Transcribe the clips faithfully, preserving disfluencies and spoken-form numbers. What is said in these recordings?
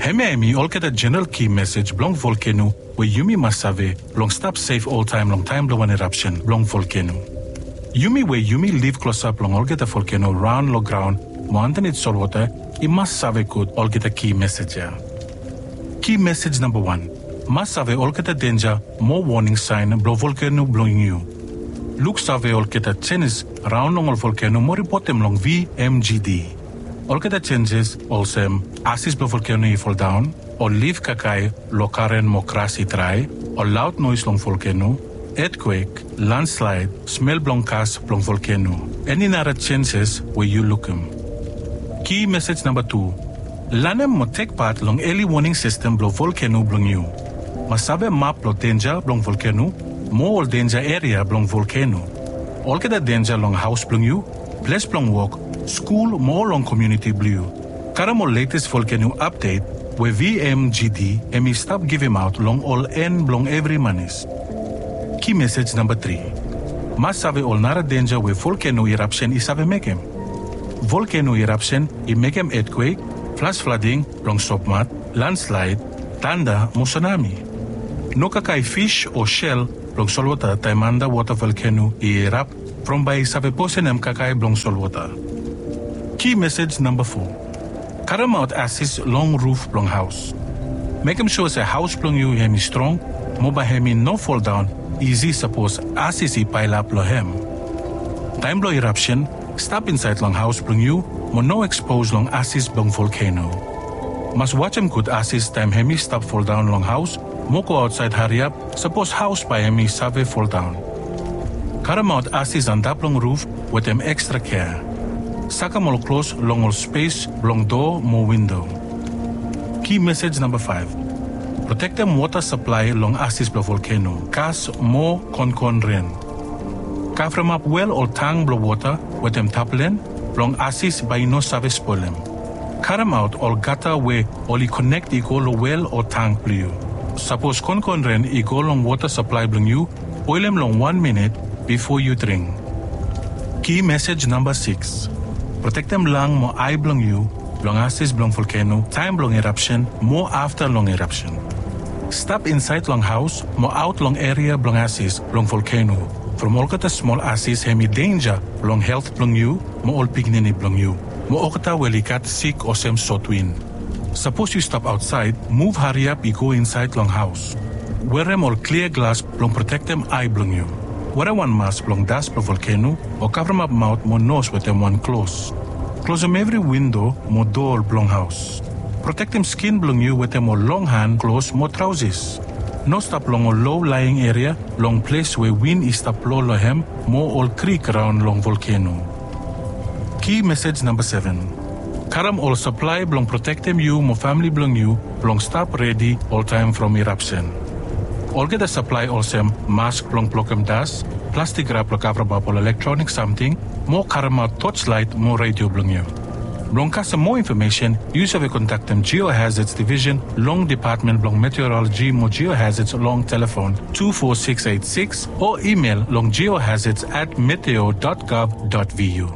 Hemia hemi olgeta jeneral ki mesej blong volkeno we yumi mas save blong stap sef oltaem long taem blong wan irapsen blong volkeno. Yumi we yumi liv klosap long olgeta volkeno raon long graon mo andanit solwota i mas save gud olgeta ki mesej ya. Ki mesej namba wan, mas save olgeta denja mo woning saen blong volkeno blong yu. Luksave olgeta jenis raon long ol volkeno mo ripotem long V M G D. Olgeta jenjes olsem asis blong volkeno i foldaon, ol lif kakae long garen mo gras i drae, ol laod noes long volkeno, etkwek, landslaed, smel blong gas blong volkeno. Eni nara jenjes we yu lukim. Ki mesej namba tu, lanem mo tek pat long eli woning sistem blong volkeno blong yu. Mas save map blong denja blong volkeno mo ol denja eria blong volkeno. Olgeta denja long haos blong yu, ples blong wok, skul mo long komuniti blong yu. Karem ol letes volkeno apdet we V M G D hemi stap givimaot long ol en blong evri manis. Ki mesej namba tri, mas save ol nara denja we volkeno irapsen i save mekem. Volkeno irapsen i mekem etkwek, flas flading blong sopmat, landslaed, tanda mo sunami. No kakae fis o sel blong solwota taem andawota volkeno i irap from bae i save posenem kakae blong solwota. Ki mesej namba fo, karemaot asis long ruf blong haos. Mekem sua se haos blong yu hemi strong mo bae hemi no foldaon isi sapos asis i paelap long hem. Taem blong irapsen, stap insaed long haos blong yu mo no ekspos long asis blong volkeno. Mas wajem gud asis taem hemi stap foldaon long haos mo go aotsaed hariap sapos haos bae hemi save foldaon. Karemaot asis antap long ruf wetem ekstra kea. Sakem ol klos long ol spes blong doa mo windo. Ki mesej namba faef, protektem wota saplae long asis blong volkeno, gas mo konkon ren. Kavremap wel ol tang blong wota wetem taplen blong asis bae i no save spolem. Karemaot ol gata we oli konek i go long wel o tang blong yu. Sapos konkon ren i go long wota saplae blong yu, boelem long wan minit bifo yu dring. Ki mesej namba sikis, protektem lang mo ae blong yu long asis blong volkeno taem blong irapsen mo afta long irapsen. Stap insaed long haos mo aot long eria blong asis blong volkeno from olgeta smol asis hemi denja long helt blong yu mo ol pikinini blong yu mo olgeta we oli gat sik olsem sotwin. Sapos yu stap aotsaed, muv hariap i go insaed long haos. Werem ol klia glas blong protektem ae blong yu. Werem wan mas blong das blong volkeno o kavremap maot mo nos wetem wan klos. Klosem evri windo mo doa blong haos. Protektem skin blong yu wetem ol long han klos mo traosis. No stap long ol lo laeing eria long ples we win i stap blo long hem mo ol krik raon long volkeno. Ki mesej namba seven. Karem ol saplae blong protektem yu mo famle blong yu blong stap redi oltaem from irapsen. Olgeta saplae olsem mask blong blokem das, plastik rap blong kavremap ol elektronik samting, mo karemaot torchlaet mo redio blong yu. Blong kasem moa infomesen, yu save kontaktem Geohazards Division long Depatmen blong Meteoroloji mo Geohazards long telefon two four six eight six o imel long geohazards at meteo dot gov dot vu.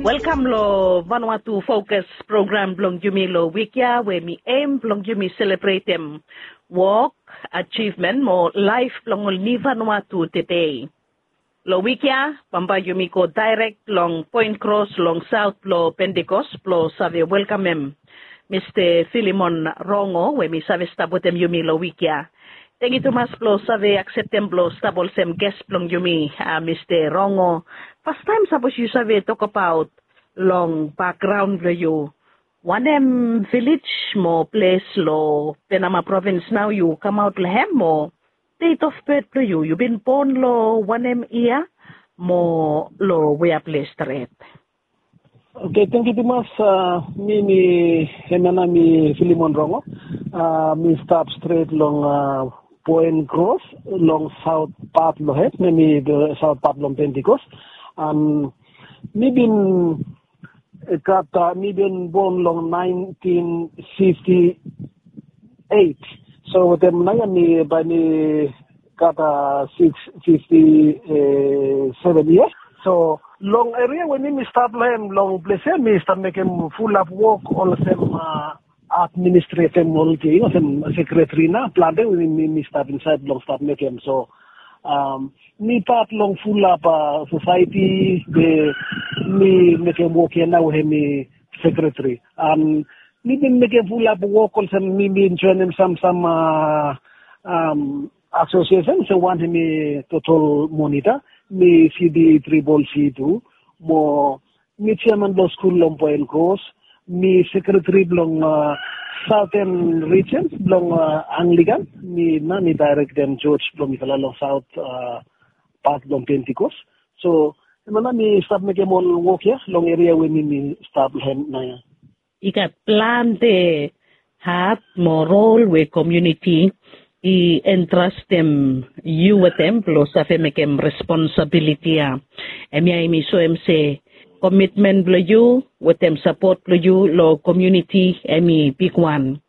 Welkam long Vanuatu Fokus program blong yumi long wik ya we mi aim blong yumi selebretem wok, ajivmen mo laef blong ol niu Vanuatu tede. Long wik ya bambae yumi go daerek long Poen Kros long saot blong Pentikos blong save welkamem Mista Filimon Rongo we mi save stap wetem yumi long wik ya. Tangkiu tumas blong save akseptem blong stap olsem ges blong yumi, a, Mista Rongo. Fastaem sapos yu save tokbaot long bakgraon blong yu, wanem vilej mo ples long Penama provins nao yu kamaot long hem mo deit of bet blong yu, yu bin bon long wanem yia mo long wea ples stret? Oke, tangkiu tumas. A, mi, mi hemia nao mi Filimon Rongo. A, mi stap stret long, a, Poen Kros long saot pat blong hem, hemi saot pat blong Pentikos. An mi bin gat, a, mi bin bon long naentin fifti eit. So wetem naoia mi bae mi gat, a, sikis fifti seven yia. So Long eria we mi mi stap long hem long ples ya mi stap mekem fulap wok olsem administretem ol ting olsem sekretari na plante we mi mi stap insaed blong stap mekem. So mi pat long fulap sosaeti we mi mekem wok ya na we hem i sekretari. Mi bin mekem fulap wok olsem mi bin joenem sam sam asosiesen olsem wan hem i totol monita, mi sidi tribol si tu mo mi jeaman blong skul long poen kros, mi sekretari blong saoten rijens blong anglikan. Mi na mi daerektem joj blong mifala long saot pat blong pentikos. So em na mi stap mekem ol wok ya long eria we mi mi stap long hem nao ya. I gat plante hat mo rol we komiuniti i entrastem yu wetem blong save mekem responsabiliti ya. Hemia i mi soem se komitmen blong yu wetem sapot blong yu long komiuniti hem i bigwan.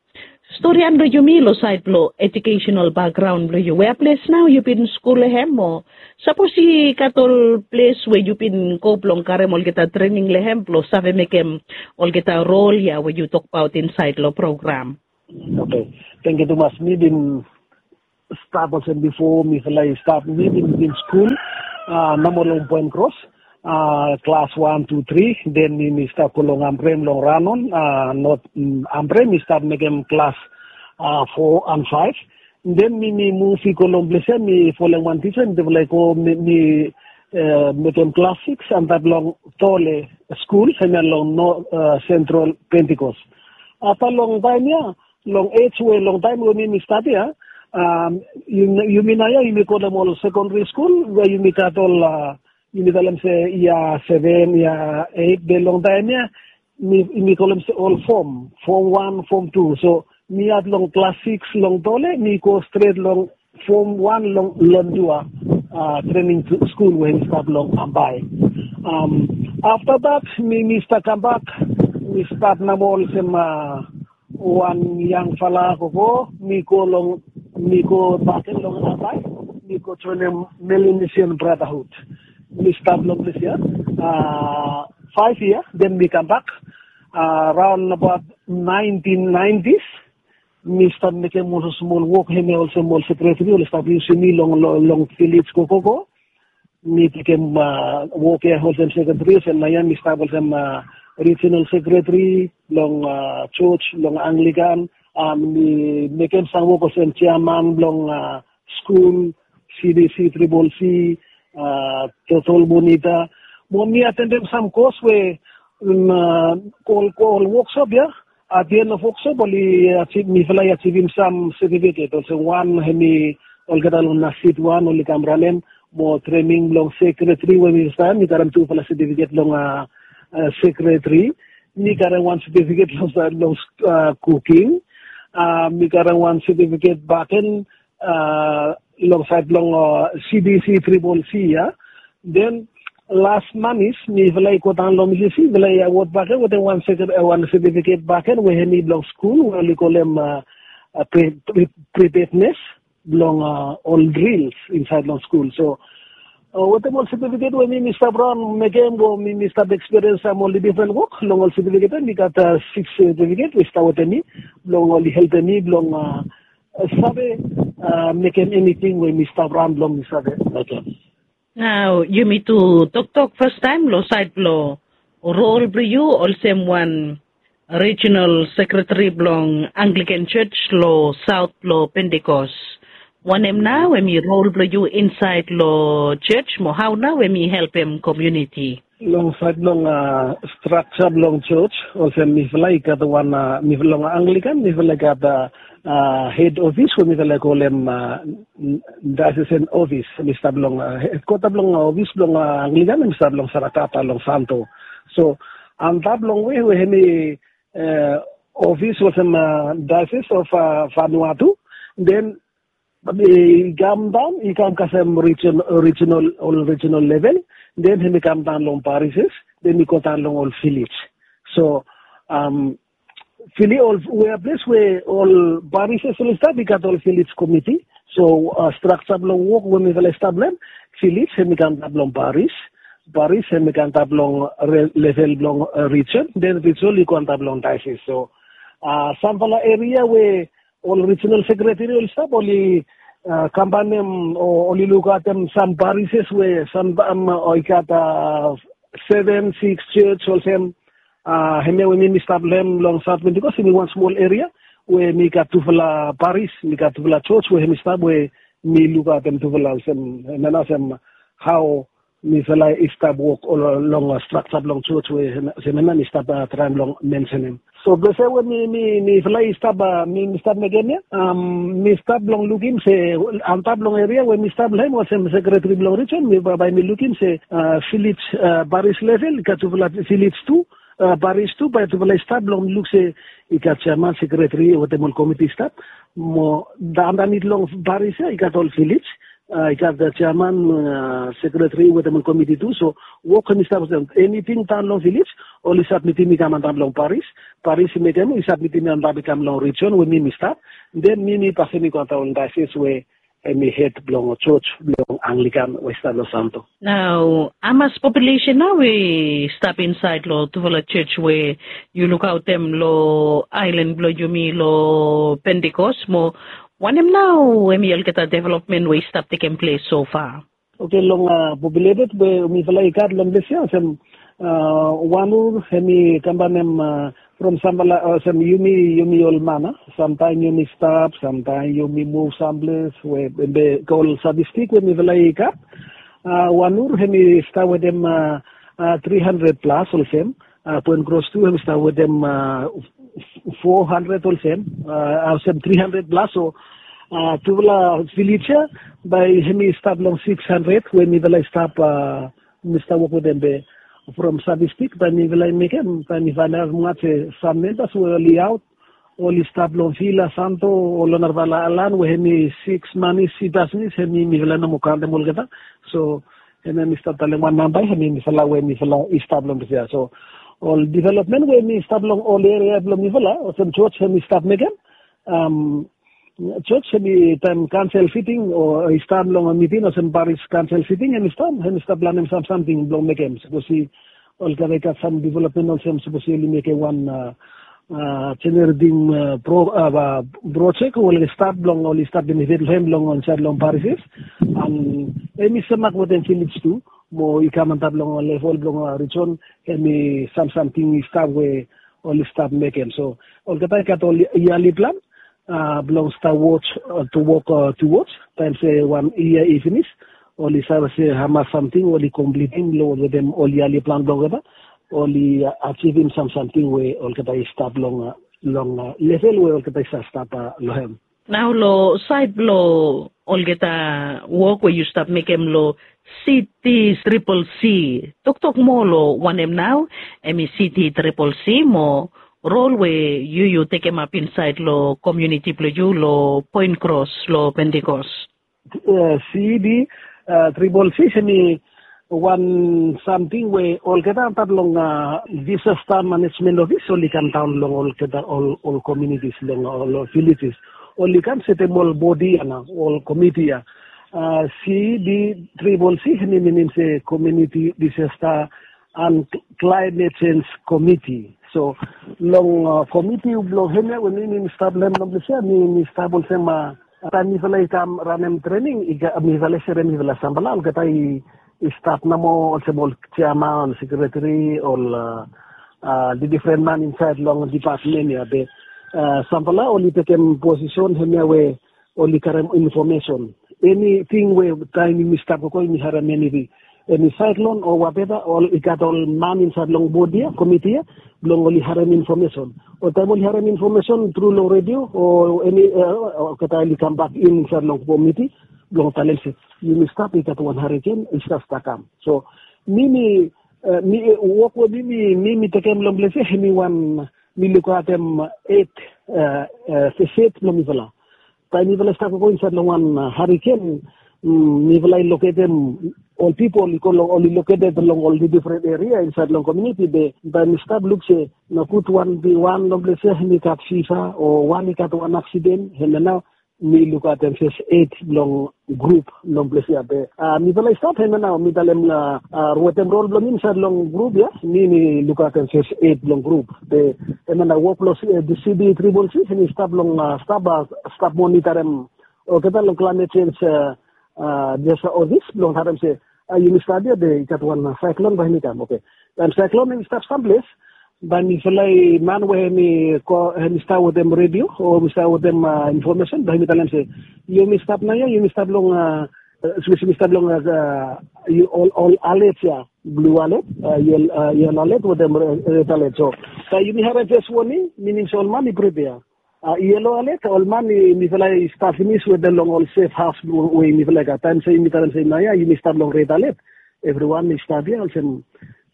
Storian blong yumi long saed blong ejukesenal bakgraon blong yu wea ples nao yu bin skul long hem o sapos i gat ol ples we yu bin go blong karem olgeta trening long hem blong save mekem olgeta rol ya we yu tokbaot insaed long program? Oke, tengkiu tumas. Mi bin stap olsem bifo mifala i stap mi bin bin skul namo long poen kros klas wan tu tri. Den mi mi stap go long ambrem long ranon not ambrem mi stap mekem klas fo an faef. Den mi mi muv i go long ples ya mi folem wan tisa mi tefala i go mi mekem klas siks antap long tole skul hemia long sentral pentikos. Afta long taem ya long ej we long taem we mi mi stap ya yumi nao ya yumi kolem ol sekondari skul we yumi gat ol yumi talem se yia seven yia eit be long taem ya mi kolem se ol fom fom wan fom tu. So mi at long klas siks long tole mi go stret long fom wan long londua trening skul we mi stap long ambae. Afta dat mi mi stap kambak mi stap namo olsem wan yangfala gogo mi go long mi go baken long ambae mi go joenem melinesian bratahut. Mi stap long ples ya faef yia den mi kambak raon abaot naentin naentis. Mi stap mekem ol smol wok hemia olsem ol sekretari ol stap yusim mi long long vilej gogogo. Mi tekem wok ya olsem sekretari olsem nao ya mi stap olsem rijinal sekretari long joj long anglikan. Mi mekem sam wok olsem jeaman blong skul, cdc tribol c, totol monita. Mo mi atendem sam kos we ol ol woksop ya. At the end of woksop oli mifala i ajivim sam setifiket olsem wan hem i olgeta long nasit wan oli kam ranem mo trening blong sekretari we mi stap mi karem tufala setifiket long sekretari. Mi karem wan setifiket long saed long kuking. Mi karem wan setifiket baken long saed long cdc tribol c ya. Den las manis mifala i go daon long misisi mifala i awod baken wetem wan setifiket baken we hem i blong skul we oli kolem pripetnes blong ol drils insaed long skul. So wetem ol setifiket we mi mi stap raon mekem o mi mi stap ekspiriens sam ol difren wok long ol setifiket ya mi gat siks setifiket we i stap wetem mi blong oli helpem mi blong save mekem eniting we mi stap raon blong mi save mekem. Nao yumi tu toktok fastaem long saed blong rol blong yu olsem wan rijinal sekretari blong anglikan joj long saot blong pentikos. Wanem nao hem i rol blong yu insaed long joj mo hao nao hem i helpem komiuniti? Long saed blong strakja blong joj olsem mifala i gat wan mifala long anglikan mifala i gat hed ofis we mifala i kolem daesesen ofis. Mi stap long hedkota blong ofis blong anglikan mi stap long sarakata long santo. So antap long we we hem i ofis olsem daeses of vanuatu. Den i kam daon i kam kasem rijinal ol rijinal level. Den hem i kam daon long parises den i go daon long ol vilej. So vilej ol wea ples we ol parises oli stap i gat ol vilej komiti. So strakja blong wok we mifala i stap long hem vilej hem i kam daon long paris. paris, hem i go antap long level blong rijon, den rijon i go antap long diocese. So sampela eria we ol regional sekretari oli stap, oli kambanem o oli lukaotem sam parises we sam i gat seven six church olsem, hemia we mi mi stap long hem long south pentecost, hem i wan smol eria we mi gat tufala paris, mi gat tufala church we hem i stap we mi lukaotem tufala olsem, hemia na olsem hao mifala i stap wok long straksa blong church we hemia na mi stap traem long mensenem. So blese we mifala i stap, mi mi stap mekem ya, mi stap long lukim se antap long eria we mi stap long hem olsem sekretari blong rijon, mi bae mi lukim se village, paris level i gat tufala village tu, paris tu bae tufala i stap long luk se i gat chairman, sekretari wetem ol komiti i stap. Mo andanit long paris ya i gat ol village, i gat chairman, sekretari wetem ol komiti tu. So wok hem i stap olsem, eniting daon long village oli sabmitim i kam antap long paris, paris i mekem i sabmitim antap i kam long rijon we mi mi stap. Den mi mi pasim i go antap long diocese we hem i hed blong church blong Anglican we i stap long Santo. Nao hamas populesen nao i stap insaed long tufala church we yu lukaotem long aelan blong yumi long Pentecost, mo wanem nao hem i olgeta developmen we i stap tekem ples sofa? Oke, long populeted we mifala i gat long ples ya olsem, wan ur hem i kambanem from sampela olsem yumi, yumi ol man, samtaem yumi stap, samtaem yumi muv samples we be ol statistik we mifala i gat. Wan ur hem i stap wetem tri handred plas olsem, poen kros tu hem i stap wetem fo handred olsem, olsem tri handred plas. So tufala vilej ya bae hem i stap long six handred we mifala i stap, mi stap wok wetem be from statistik bae mifala i mekem, bae mi faenaot moa se sam membas we oli aot, oli stap long vila santo o long narafala aelan we hem i six manis i basnis, hem i mifala i no moa kaontem olgeta. So hemia mi stap talem wan namba, hem i mifala we mifala i stap long ples ya. So ol developmen we mi stap long ol eria blong mifala olsem jos hem i stap mekem, jos hem i taem kansel siting o i stap long miting olsem paris kansel siting hem i stap, hem i stap planem sam samting blong mekem sapos i olgeta i gat sam developmen olsem sapos i oli mekem wan generating projek we oli stap blong oli stap benefit long hem long insaed long parises. An hem i semak wetem vilej tu mo i kam antap long level blong rijon, hem i sam samting i stap we oli stap mekem. So olgeta i gat ol yali plan blong stap wok tu wok tu wok taem se wan yia i finis, oli save se hamas samting oli komplitim long wetem ol yali plan blong olgeta, oli ajivim sam samting we olgeta i stap long long level we olgeta i save stap long hem. Nao long saed blong olgeta wok we yu stap mekem long city triple c, toktok moa long wanem nao hem i city triple c mo rol we yu yu tekemap insaed long komuniti blong yu long poen kros long pentekos? Cd triple c hem i wan samting we olgeta antap long disasta manejmen ofis oli kam daon long olgeta ol komunitis long ol vilejes, oli kam setem ol bodi ana ol komiti ya. Cd triple c hem i minim se komuniti disasta an klaimet sens komiti. So long komiti blong hem ya we mi mi stap long hem long ples ya mi mi stap olsem, taem mifala i kam ranem trening mifala i serem mifala sampela olgeta i stap namo olsem ol jeaman ol sekretari ol difren man insaed long dipatmen ya be sampela oli tekem posisen hem ya we oli karem infomesen. Eniting we taem yumi stap gogo yumi harem eni, eni saeklon o wateva, ol i gat ol man insaed long bod ya, komiti ya, blong oli harem infomesen. O taem oli harem infomesen tru long redio o eni, olgeta oli kambak in insaed long komiti blong talem se yumi stap i gat wan hariken i stap stap kam. So mi mi, mi wok we mi mi mi mi tekem long ples ya hemi wan mi lukaotem et, feset blong mifala. Taem mifala i stap gogo insaed long wan hariken, mifala i loketem ol pipol i go long ol i loketed long ol difren eria insaed long komuniti be taem mi stap luk se nogud wan bi wan long ples ya hemi gat fiva o wan i gat wan aksiden hemia nao mi lukaotem first aid blong grup long ples ya be. Mifala i stap hemia nao mi talem wetem rol blong mi insaed long grup ya, mi mi lukaotem first aid blong grup. Be hemia nao wok blong CB triple C hemi stap long stap stap monitarem olgeta long climate change disaster office blong harem se yumi stap ya be i gat wan cyclone bae hemi kam. Oke, taem cyclone hemi stap samples, bae mifala i man we hemi stap wetem redio o hemi stap wetem information bae hemi talem se yumi stap nao ya, yumi stap long, especially mi stap long ol alert ya, blue alert, yellow alert wetem red alert. So taem yumi harem first warning, minim se ol man i prepare. Yellow alert, ol man i mifala i stap finis wetem long ol safe house we mifala i gat. Taem se yumi talem se nao ya yumi stap long red alert, evriwan i stap ya olsem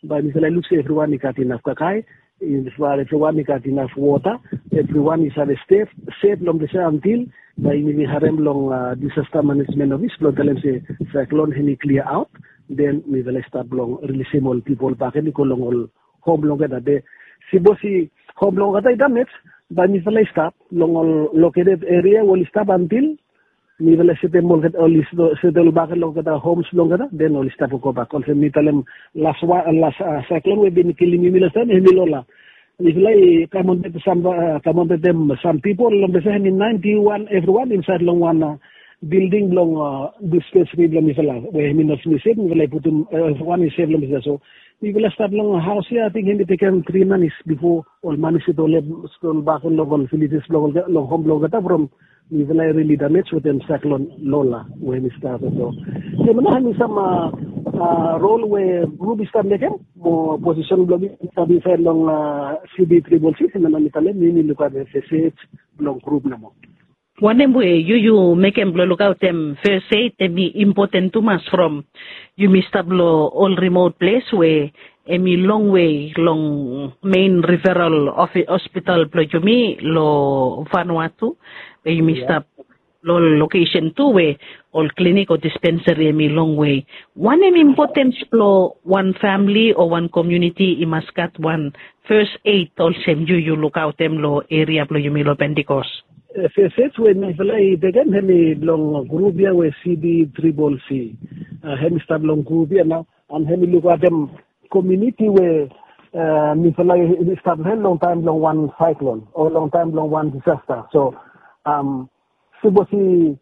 bae mifala i luk se evriwan i gat inaf kakae, evriwan i gat inaf wota, evriwan i save stap sef long ples ya antil bae yumi harem long disaster management office blong talem se cyclone hemi clear out. Den mifala i stap blong rilisim ol pipol bakegen i go long ol hom blong olgeta. Be sipos i hom blong olgeta i damej, bae mifala i stap long ol located area we oli stap antil mifala i setem olgeta, oli setem bakegen long olgeta homes blong olgeta, den oli stap gobak. Olsem mi talem las cyclone we bin kilim yumi lastaem hemi Lola. Mifala i kam on wetem sam pipol long ples ya hemi naenti wan, evriwan insaed long wan bilding blong dispensary blong mifala we hemi no save, mifala i putum evriwan i sef long ples ya. So mifala stap long haos ya, ating hemi tekem tri manis bifo ol man i setem bakegen long ol villages blong olgeta, long hom blong olgeta from mifala i rili damej wetem cyclone Lola we hemi stap ya. So hemia nao hemi sam rol we grup i stap mekem mo posisen blong mi i stap insaed long CB triple C, hemia nao mi talem mi mi lukaotem first aid blong grup nomo. Wanem we yu yu mekem blong lukaotem first aid hemi impoten tumas from yumi stap long ol remote ples we hemi longwe long main referral hospital blong yumi long Vanuatu, we yumi stap long ol lokesen tu we ol klinik o dispensari hemi longwe. Wanem impotens blong wan famili o wan komuniti i mas gat wan first aid olsem yu yu lukaotem long eria blong yumi long Pentecost? First aid we mifala i tekem hemi blong grup ya we CB triple C. Hemi stap long grup ya nao, an hemi lukaotem komuniti we mifala i stap long hem long taem blong wan cyclone o long taem blong wan disaster. So sipos i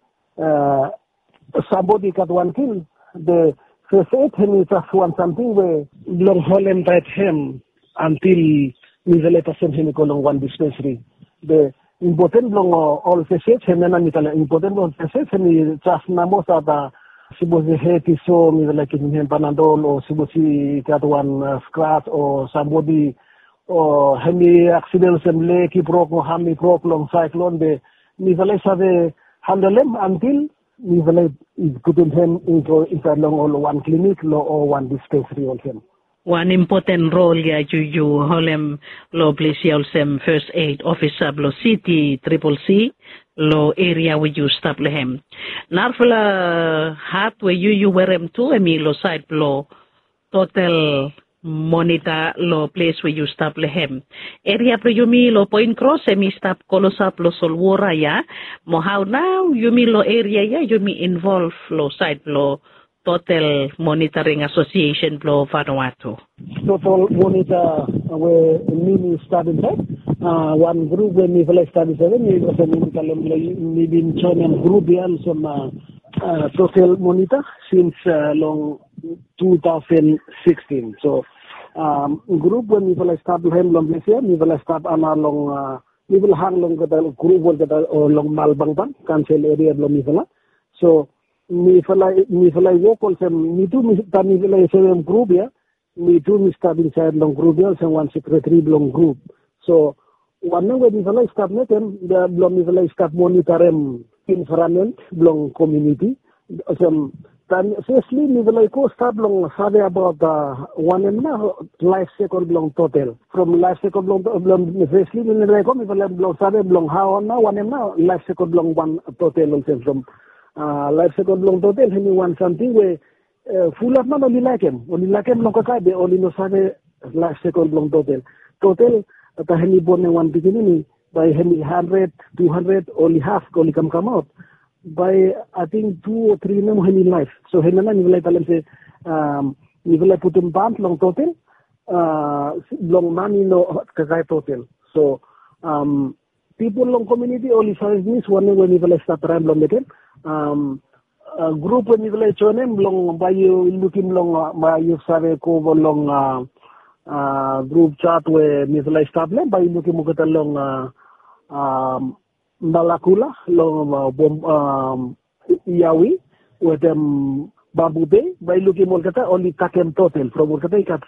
sambodi i gat wan kil, be first aid hemi jes wan samting we blong holem taet hem antil mifala i fasin hem i go long wan dispensari. Be impoten blong ol first aid hemia nao mi talem, impoten blong ol first aid hemi jes namo save, sipos i hed i so mifala i givim hem Panadol, o sipos i gat wan skrats o sambodi o hemi aksiden olsem leg i brok o ham i brok long cyclone, be mifala i save handelem antil mifala i putum hem i go insaed long ol wan klinik o wan dispensari olsem. Wan impoten rol ya yu yu holem long ples ya olsem first aid ofisa blong CB triple C long eria we yu stap long hem. Narafala hat we yu yu werem tu hemi long saed blong total monita long ples we yu stap long hem. Eria blong yumi long Point Cross hemi stap klosap long solwora ya. Mo hao nao yumi long eria ya yumi involv long saed blong Total Monitoring Association blong Vanuatu? Total Monitor we mi mi stap insaed, wan grup we mifala i stap insaed, mi olsem mi talem long yu, mi bin joenem grup ya olsem Total Monitor sins long two thousand sixteen. So grup we mifala i stap long hem long ples ya, mifala i stap ana long, mifala hang long olgeta grup olgeta long Malbangbang kansel eria blong mifala. So mifala, mifala i wok olsem, mi tu mi, taem mifala i joenem grup ya, mi tu mi stap insaed long grup ya olsem wan sekretari blong grup. So wanem we mifala i stap mekem blong mifala i stap monitorem envaeronmen blong komuniti. Olsem taem fesli mifala i go stap long save abaot wanem nao laef sikol blong Total. From laef sikol blong, blong fesli mifala i go mifala blong save blong hao nao wanem nao laef sikol blong wan Total olsem from laef sikol blong Total hemi wan samting we fulap man oli laekem, oli laekem long kakae be oli no save laef sikol blong Total. Total taem hemi bonem wan pikinini, bae hemi handred, tu handred, oli haf oli kamkamaot, bae ating tu o tri nomo hemi laef. So hemia nao mifala i talem se mifala i putum ban long totel blong mani no kakae totel. So pipol long komuniti oli save pinis wanem we mifala i stap traem blong mekem. Grup we mifala i joenem blong bae yu lukim long, bae yu save go long grup jat we mifala i stap long, bae yu lukim olgeta long Malakula, long Iawi wetem Bambu Bei, bae yu lukim olgeta oli takem totel from olgeta i gat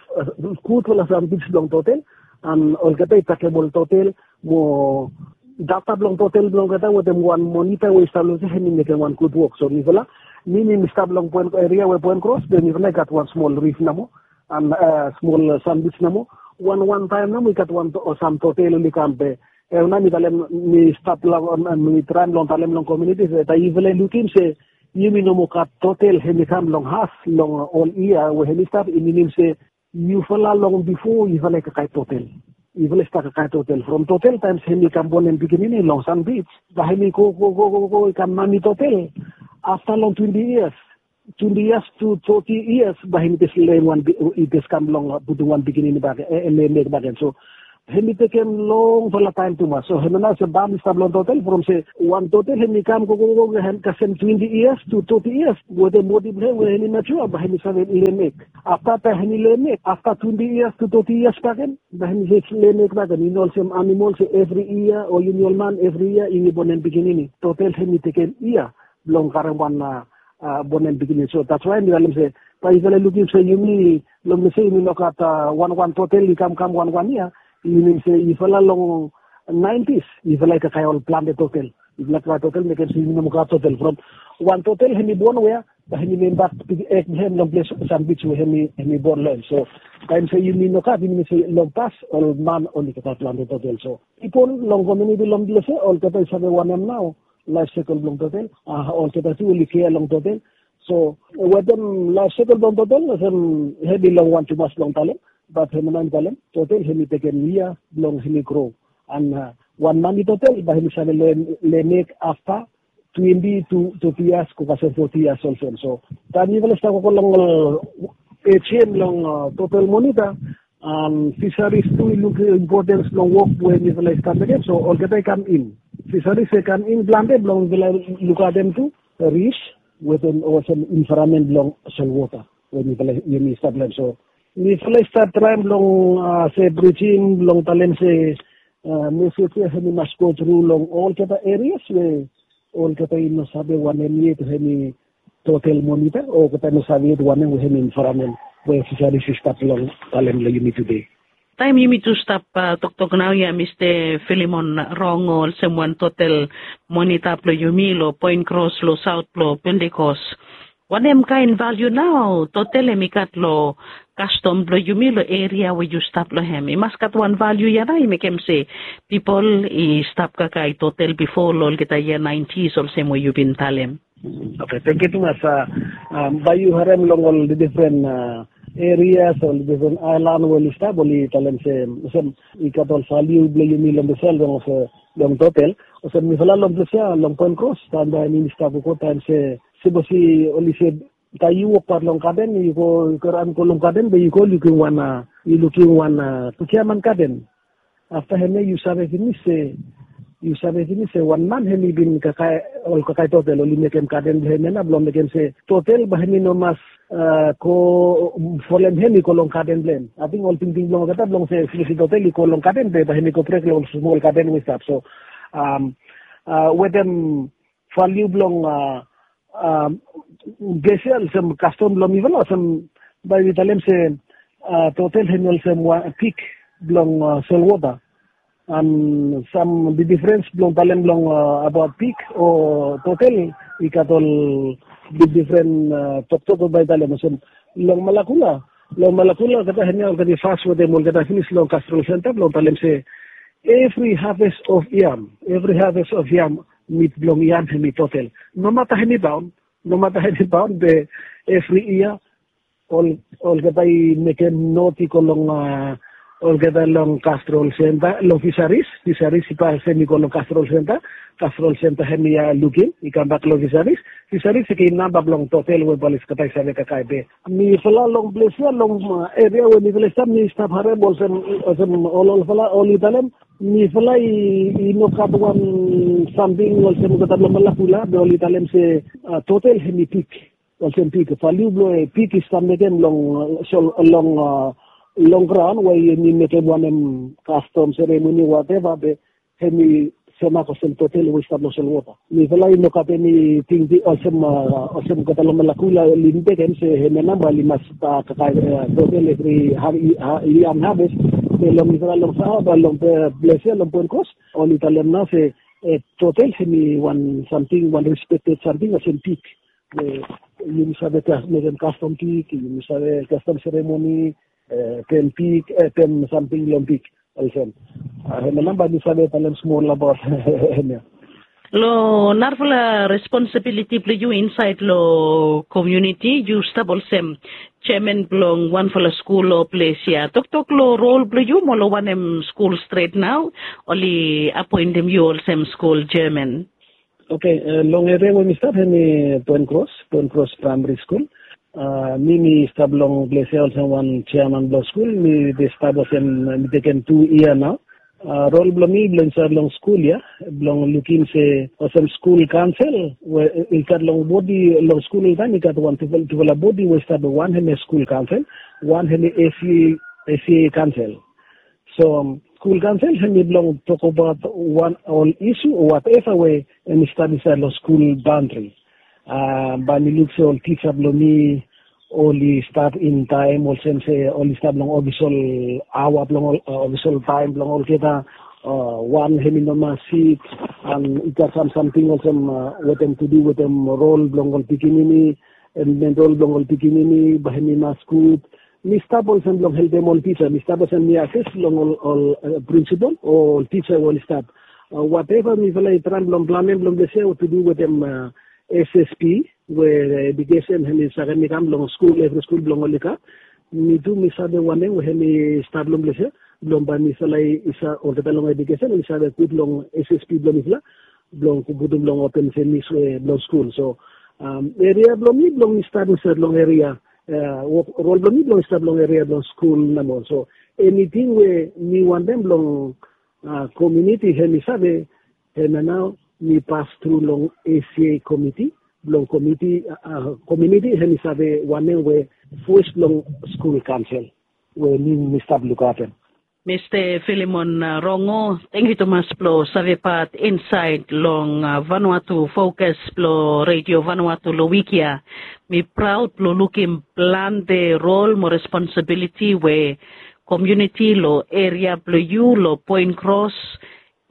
gudfala sam bits blong totel. An olgeta i takem ol totel mo data blong totel blong olgeta wetem wan monita we i stap long se hemi mekem wan gud wok. So mifala, mi mi stap long poen eria we poen kros be mifala i gat wan smol rif nomo an smol sam bits nomo. Wan wan taem nomo i gat wan sam totel oli kam be hemia nao mi talem, mi stap long, mi traem long talem long komuniti se taem yufala i lukim se yumi no moa gat totel hemi kam long haf long ol yia we hemi stap, i minim se yufala long bifo yufala i kakae totel. Yufala i stap kakae totel from totel taem se hemi kam bonem pikinini long San Beach, bae hemi go go go go go i kam mami totel afta long twenti yias, twenti yias tu toti yias bae hemi jes lem wan, i jes kam long putum wan pikinini bakegen, lem ek bakegen. So hemi tekem longfala taem tumas. So hemia nao se bam i stap long totel from se wan totel hemi kam go go go kasem twenti yias tu toti yias wetem bodi blong hem we hemi matua bae hemi save lem ek. Afta taem hemi lem ek afta twenti yias tu toti yias bakegen, bae hemi jes lem ek bakegen. I no olsem animol se evri yia o yumi ol man evri yia yumi bonem pikinini. Totel hemi tekem yia blong karem wan bonem pikinini. So that's why mi talem se bae yufala i lukim se yumi long se yumi no gat wan wan totel i kamkam wan wan yia, i minim se yufala long naentis yufala i kakae ol plante totel. Yufala kakae totel mekem se yumi no moa gat totel from wan totel hemi bon wea, bae hemi lem bak ek blong hem long ples San Beach we hemi bon long hem. So taem se yumi no gat, i minim se long pas ol man oli kakae plante totel. So pipol long komuniti long ples ya olgeta i save wanem nao laef sekol blong totel, olgeta tu oli kea long totel. So wetem laef sekol blong totel olsem hemi longwan tumas blong talem, bat hemia nao mi talem totel hemi tekem yia blong hemi gro. An wan mami totel bae hemi save lem ek afta twenti tu toti yias go kasem foti yias olsem. So taem yufala i stap gogo long ol ejien long totel monita, an fisaris tu i luk impotens blong wok we mifala i stap mekem. So olgeta i kam in, fisaris i kam in plante blong mifala i lukaotem tu rif wetem olsem envaeramen blong solwota we mifala yumi stap long hem. So mifala i stap traem blong se brijim blong talem se mesej ya hemi mas go tru long olgeta erias we olgeta i no save wanem yet hemi totel monita, olgeta i no save yet wanem we hemi envaeramen we fisaris i stap long talem long yumi tude. Taem yumi tu stap toktok naoia Mista Filimon Rong, olsem wan totel monita blong yumi long Poen Kros long saot blong Pentekos, wanem kaen valiu nao totel hemi gat long kastom blong yumi long eria we yu stap long hem? I mas gat wan valiu ya nao i mekem se pipol i stap kakae totel bifo long olgeta yia naentis olsem we yu bin talem. Oke, tangkiu tumas. Bae yu harem long ol difren erias, ol difren aelan we oli stap, oli talem se olsem i gat ol valiu blong yumi long ples ya long, long totel. Olsem mifala long ples ya long Poen Kros, taem bae mi stap gogo taem se sipos oli se taem yu wokbaot long gaden, yu go, yu go raon go long gaden be yu go lukim wan, yu lukim wan Giaman gaden. Afta hemia yu save pinis se, yu save pinis se wan man hemi bin kakae, ol kakae totel oli mekem gaden blong hem ya nao blong mekem se totel bae hemi no mas go folem hem i go long gaden blong hem. Ating ol tingting blong olgeta blong se sipos totel i go long gaden be bae hemi go brek long ol smol gaden we i stap. So wetem valiu blong ples ya olsem kastom blong mifala olsem bae mi talem se totel hemi olsem wan pik blong solwota. An sam bigdifrens blong talem long abaot pik o totel, i gat ol bigdifren toktok we bae talem olsem long Malakula. Long Malakula olgeta hemia olgeta i fas wetem olgeta pinis long kasrol senta blong talem se evri haves of yam, evri haves of yam, mit blong yam hemi totel. Nomata hemi baon, nomata hemi baon be evri yia ol, olgeta i mekem not i go long a olgeta long Castrol Center, long Fisheries, Fisheries i pas hemi go long Castrol Center, Castrol Center hemi lukim i kambak long Fisheries, Fisheries i givim namba blong total we bae oli stap save kakae be. Mifala long ples ya long eria we mifala i stap, mi stap harem olsem, olsem ol olfala oli talem mifala i, i no gat wan samting olsem olgeta blong Malakula be oli talem se total hemi pik. Olsem pik, valiu blong pik i stap mekem long, long, long graon we yumi mekem wanem kastom seremoni wateva be hemi semak olsem total we i stap long solwota. Mifala i no gat eni tingting olsem, olsem olgeta long Malakula oli mekem se hemia namba oli mas kakae total evri yia harvest. Be long mifala long Sahaba long ples ya long Point Cross oli talem nao se total hemi wan samting, wan respected samting olsem pik. Yumi save mekem kastom pik, yumi save kastom seremoni, tem pik, tem samting long pik. Olsem, hemia namba mi save talem smol abaot hemia. Long narafala responsibiliti blong yu insaed long komuniti, yu stap olsem jeaman blong wanfala skul long ples ya. Toktok long rol blong yu mo long wanem skul stret nao oli apoentem yu olsem skul jeaman? Oke, long eria we mi stap hemi Point Cross, Point Cross Praemari Skul. Mi mi stap long ples ya olsem wan jeaman blong skul. Mi bin stap olsem, mi tekem tu yia nao. Rol blong mi blong insaed long skul ya blong lukim se olsem skul kaonsel we i gat long bodi long skul oltaem i gat wan tufala bodi we i stap, wan hemi skul kaonsel, wan hemi SCA kaonsel. So skul kaonsel hemi blong tokbaot wan ol isu o wateva we hemi stap insaed long skul baondri. Bae mi luk se ol tisa blong mi oli stap in taem olsem se oli stap long ofisol aoa blong ol, ofisol taem blong olgeta. Wan hemi no mas sik, an i gat sam samting olsem wetem tu du wetem rol blong ol pikinini, en rol blong ol pikinini bae hemi mas gud. Mi stap olsem blong helpem ol tisa, mi stap olsem mi ases long ol, ol prinsipol o ol tisa we oli stap. Wateva mifala i traem blong planem blong ples ya tu du wetem SSP we edukesen hemi sakem i kam long skul, evri skul blong oli gat. Mi tu mi save wanem we hemi stap long ples ya blong bae mifala i save, olgeta long edukesen oli save gud long SSP blong mifala blong putum long open semis we blong skul. So eria blong mi blong mi stap insaed long eria, rol blong mi blong mi stap long eria blong skul nomo. So eniting we mi wantem blong komuniti hemi save, hemia nao mi pas tru long SCA komiti blong komuniti hemi save wanem we voes blong skul kaonsel we mi mi stap lukaotem. Mista Filimon Rongo, tangkiu tumas blong save pat insaed long Vanuatu Fokas blong Redio Vanuatu long wik ya. Mi praod blong lukim plante rol mo responsibiliti we komuniti long eria blong yu long Point Cross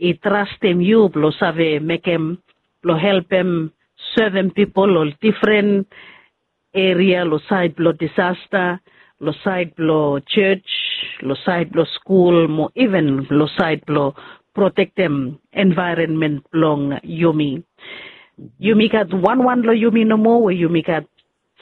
i trastem yu blong save mekem blong helpem sevem pipol long difren eria long saed blong disasta, long saed blong jos, long saed blong skul mo iven long saed blong protektem envaeronmen blong yumi. Yumi gat wanwan long yumi nomo we yumi gat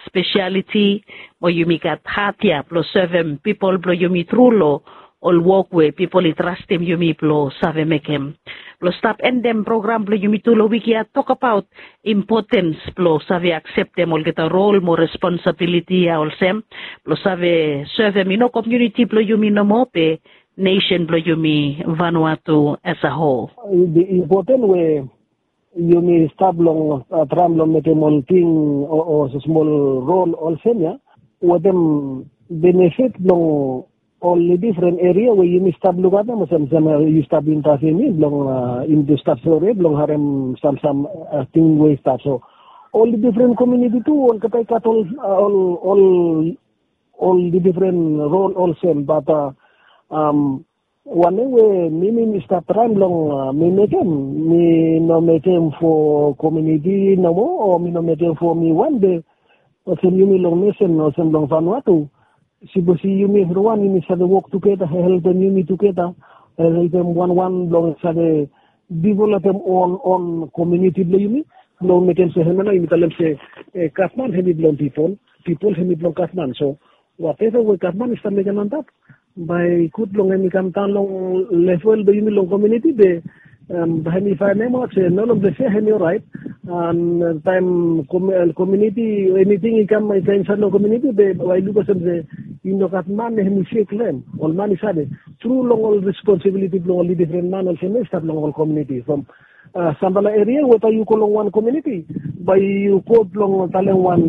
spesialiti mo yumi gat hat ya blong sevem pipol blong yumi tru long ol wok we pipol i trastem yumi blong save mekem. Blong stap endem program blong yumi tu long wik ya, tokbaot impotens blong save akseptem olgeta rol mo responsibiliti ya olsem blong save sevem i no komuniti blong yumi nomo be nesen blong yumi Vanuatu as a whole. Impoten we yumi stap long traem blong mekem ol ting o smol rol olsem ya wetem benefit blong ol difren eria we yumi stap lukaotem olsem, yu stap intaviu mi blong yumi tu stap sore blong harem sam, sam ting we i stap. So ol difren komuniti tu olgeta i gat ol, ol, ol difren rol olsem, bat wanem we mi, mi, mi stap traem blong mi mekem, mi no mekem fo komuniti nomo o mi no mekem fo mi wan be olsem yumi long nesen olsem long Vanuatu. Sipos i yumi evriwan yumi save wok tugeta, helpem yumi tugeta, helpem wanwan blong save developem on, on komuniti blong yumi, blong mekem se hemia nao yumi talem se gavman hemi blong pipol, pipol hemi blong gavman. So wateva we gavman i stap mekem antap Bae i gud blong hem i kam daon long level blong yumi long komuniti be bae hem i faenemaot se no long ples ya hem i oraet. An taem komuniti eniting i kam i kam insaed long komuniti be bae i luk olsem se i no gat man hem i sek long hem. Ol man i save tru long ol responsibiliti blong ol difren man olsem ya i stap long ol komuniti from sampela eria we bae yu go long wan komuniti bae yu go blong talem wan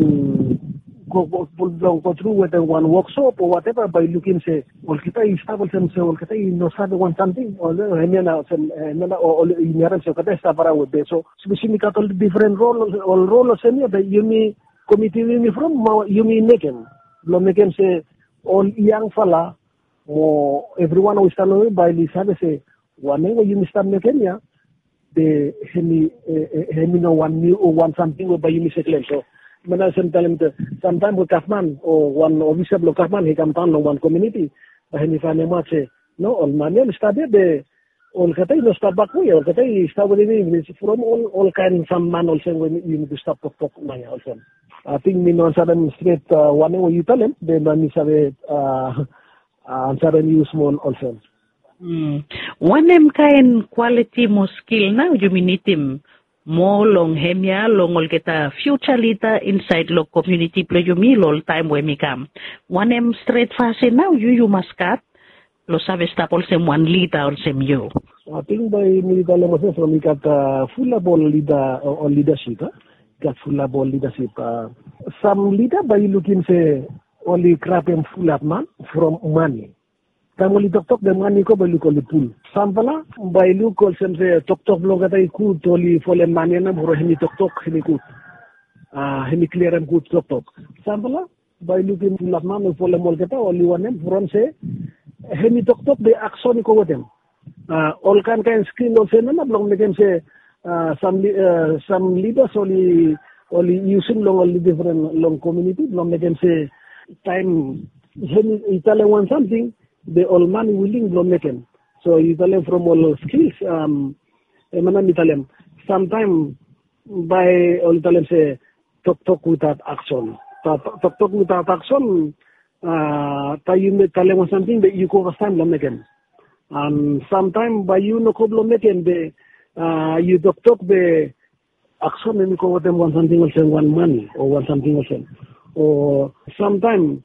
blong go tru wetem wan woksop o wateva bae yu lukim se olgeta i stap olsem se olgeta i no save wan samting o hemia na olsem hemia na o i harim se olgeta i stap araon we be so sipos yumi gat ol difren rol ol rol olsem ya be yumi komiti we yumi from yumi mekem blong mekem se ol yangfala mo evriwan we i stap long yumi bae oli save se wanem we yumi stap mekem ya be hemi hemi no wan niu o wan samting we bae yumi seklem so mana sem talem te samtaem we gavman o wan ofisa blong gavman i kam daon long wan komuniti bae hemi faenemaot se no ol man ya oli stap ya be olgeta i no stap bak we olgeta i stap wetem yumi from ol ol kaen sam man olsem we yumi tu stap toktok nao ya olsem. Ating mi no ansarem stret wanem we yu talem be bae mi save ansarem yu smol olsem. Wanem kaen kwaliti mo skil nao yumi nidim moa long hemia long olgeta fiuja lida insaed long komuniti blong yumi long ol taem we mi kam? Wanem stret fasin nao yu yu mas gat blong save stap olsem wan lida olsem yu? Ating bae mi talem olsem from i gat fulap ol lida ol lidasip a i gat fulap ol lidasip a sam lida bae yu lukim se oli grabem fulap man from mani taem oli toktok be mani i go bae luk oli pul. Sampela bae luk olsem se toktok blong olgeta i gud oli folem mani ya nao from hemi toktok hemi gud a hemi kliarem gud toktok. Sampela bae lukim fulap man we folem olgeta oli wanem from se hemi toktok be akson i go wetem a ol kaen kaen skil olsem ya nao blong mekem se a sam lidas oli oli yusim long ol difren long komuniti blong mekem se taem hemi i talem wan samting be ol man i wiling blong mekem. So yu talem from ol skils em ana mi talem samtaem bae oli talem se toktok witaot akson. Toktok witaot akson a taem yu talem wan samting be yu go fastaem blong mekem. An samtaem bae yu no go blong mekem be a yu toktok be akson em i go wetem wan samting olsem wan mani o wan samting olsem o samtaem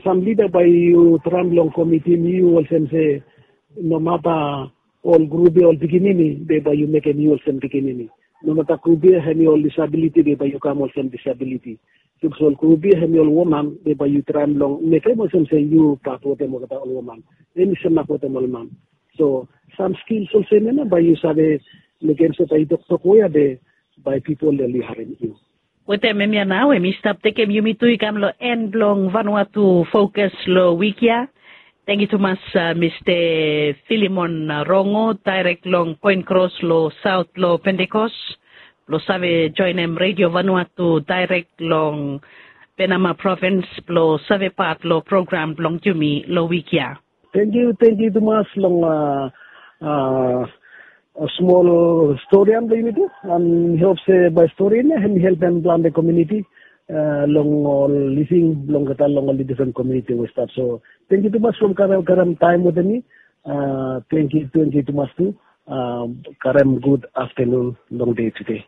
sam lida bae yu traem long komitim yu olsem se nomata ol grup ya ol pikinini be bae yu mekem yu olsem pikinini. Nomata grup ya hemi ol disabiliti be bae yu kam olsem disabiliti. Sapos ol grup ya hemi ol woman be bae yu traem long mekem olsem se yu pat wetem olgeta ol woman hemi semak wetem ol man. So sam skils olsem ya nao bae yu save mekem se bae yu toktok we ya be bae pipol oli harim yu. Wetem hemia nao hem i stap tekem yumi tu i kam long en blong vanua tu fokas long wik ya. Tengiu tumas mista filimon rongo daerek long poen kros long saot blong pentekos blong save joenem redio vanua tu daerek long penama provins blong save pat long program blong yumi long wik ya. Tengiu tengiu tumas long a a smol stori ya blong yumi tu an mi hop se bae stori ya hem i helpem plante komuniti long ol living blong olgeta long ol difren komuniti we stap so tengiu tumas from karem taem wetem mi. Tengiu tengiu tumas tu karem gud aftanun long dei tude.